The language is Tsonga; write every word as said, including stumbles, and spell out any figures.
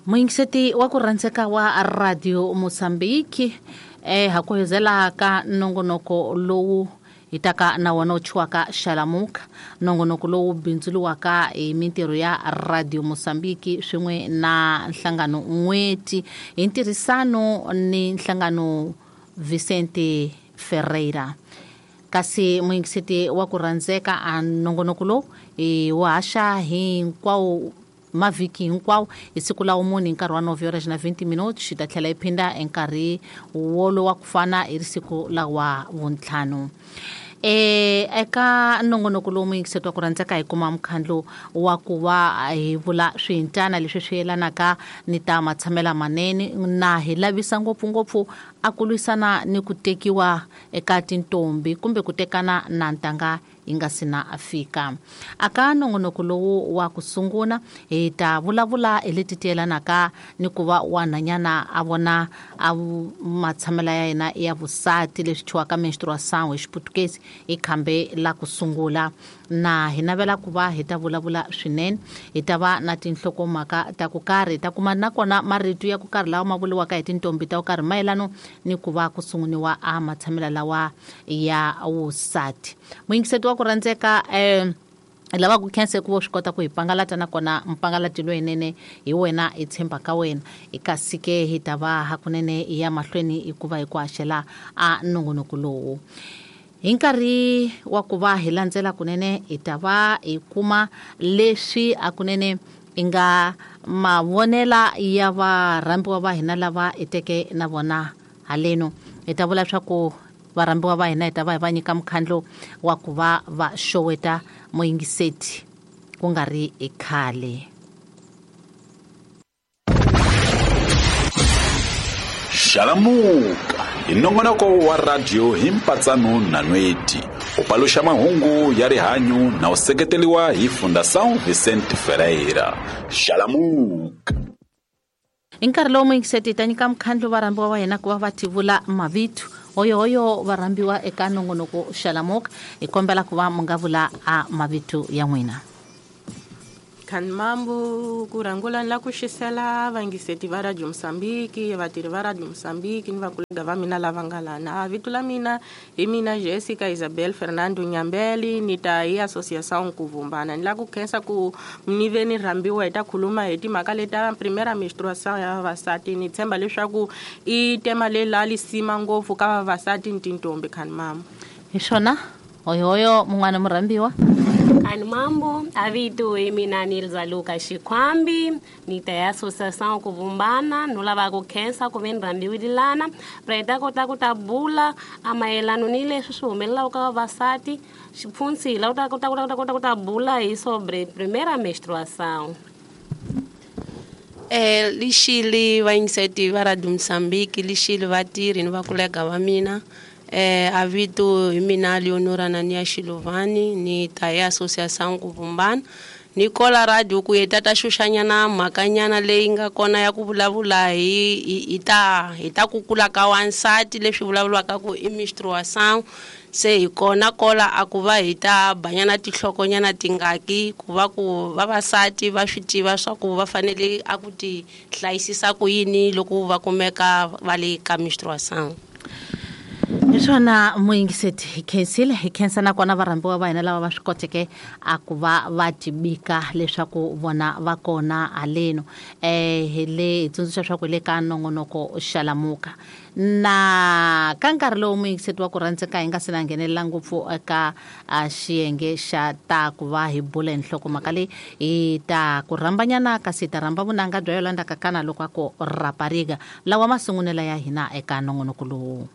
Muyingiseti wa ku rhandzeka wa Radio Mozambique eh ha ku hezela ka nongonoko lowu hi taka na wona wu thyiwaka Xalamuka, nongonoko lowu bindzuriwaka hi mintirho ya Radio Mozambique swin'we na nhlangano N'weti hi ntirhisano ni nhlangano Vicente Ferreira. Kasi muyingiseti wa ku rhandzeka a nongonoko lowu hi wu haxa hinkwawo mavhiki hinkwawo hi siku la wumune hi nkarhi wa nove horas na vinte minutos, xi ta tlhela yi phinda hi nkarhi wolowo wa ku fana hi siku la wa vuntlhanu. E eka nongonoko lowu muyingiseti wa ku rhandzeka hi kuma mukhandlu wa ku va hi vula swihintana leswi swi yelanaka ni ta matshamela manene na hi lavisa ngopfungopfu a ku lwisana ni ku tekiwa eka tintombi kumbe ku tekana na ntanga yi nga si na fika. Aka nongonoko lowu wa ku sungula hi ta vulavula hi leti ti yelanaka ni ku va wanhanyana a vona a matshamela ya yena ya vusati leswi thyiwaka menstruação hi Xiputukezi hi khambe la ku sungula. Na hi navela ku va hi ta vulavula swinene, hi ta va na tinhlokomhaka ta ku karhi, hi ta kuma nakona marito ya ku karhi lawa ma vuriwaka hi tintombi ta ku karhi mayelano ni ku va ku sunguriwa a matshamela lawa ya vusati. Muyingiseti wa ku rhandzeka eh lava ku khensa ku swi kota ku hi pangalata nakona mpangalati lowunene hi wena hi tshemba ka wena. Kasi ke hi ta va hakunene hi ya mahlweni hikuva hi ku haxela a nongonoko lowu. Hi nkarhi wa ku va hi landzela kunene hi ta va hi kuma leswi hakunene i nga mavonela ya varhambiwa va hina lava hi teke na vona haleno. Hi ta vula leswaku varhambiwa va hina hi ta va hi va nyika mukhandlu wa ku va va xoweta muyingiseti ku nga ri i khale. Xalamuka hi nongonoko wa radio hi mpatsano na Nweti, u paluxa mahungu ya rihanyu na u seketeriwa hi Fundação Vicente Ferreira. Xalamuka. Hi nkarhi lowu muyingiseti hi ta nyika mukhandlu varhambiwa va hina ku va va tivula mavito. Hoyohoyo varhambiwa eka nongonoko Xalamuka, hi kombela ku va mi nga vula a mavito ya n'wina. Khanmambu ku rhangula ni la ku xisela vayingiseti va Radio Mozambique, vatirhi va Radio Mozambique ni vakolega va mina lava nga lana. Vito la mina hi mina Jessica Isabel Fernando Nyambeli, ni ta hi Associação Kuvumbana. Ni la ku khensa ku ni ve ni rhambiwa hi ta khuluma hi timhaka leta primera menstruação ya vavasati. Ni tshemba leswaku i tema leyi la lisima ngopfu ka vavasati ni tintombi. Khanmambu. Hi swona hoyohoyo mun'wana murhambiwa. Khanmambu, avito hi mina Nilza Luka Xikhwambi, ni ta ya Associação Kuvumbana. No lava ku khensa ku ve ni rhambiwile lana pra hi ta kota ku ta bula a mayelano ni leswi swi humelelaka ka vavasati. Xipfunsi la u ta kota ku ta kota ku ta bula hi sobre primeira menstruação. Eh lixili vayingiseti va Radio Mozambique, lixili vatirhi ni vakolega va mina. Eh avito hi mina Leonora Nania Xilovani, ni ta ya Associação Kuvumbana. Ni kola radio ku hi ta ta xuxanyana mhakanyana leyi nga kona ya ku vulavula hi hi ta hi ta ku kula ka wansati leswi vulavuriwaka ku i menstruação. Se hi kona kola a ku va hi ta banyana tinhlokonyana tingaki ku va ku vavasati va swi tiva swa ku va fanele a ku ti hlayisisa ku yini loko va kumeka va le ka menstruação. Hi swona muyingiseti, hi khensile, hi khensa nakona varhambiwa va hina lava va swi koteke a ku va va tibika leswaku vona va kona haleno. Eh hi le hi tsundzuxa leswaku hi le ka nongonoko Xalamuka. Na ka nkarhi lowu muyingiseti wa ku rhandzeka hi nga se na nghenelela ngopfu eka xiyenge xa ta ku va hi bula hi nhlokomhaka leyi, hi ta ku rhambanyana kasi hi ta rhamba vunanga bya Yolanda Kakana loko a ku rapariga lawa masungunela ya hina eka nongonoko lowu.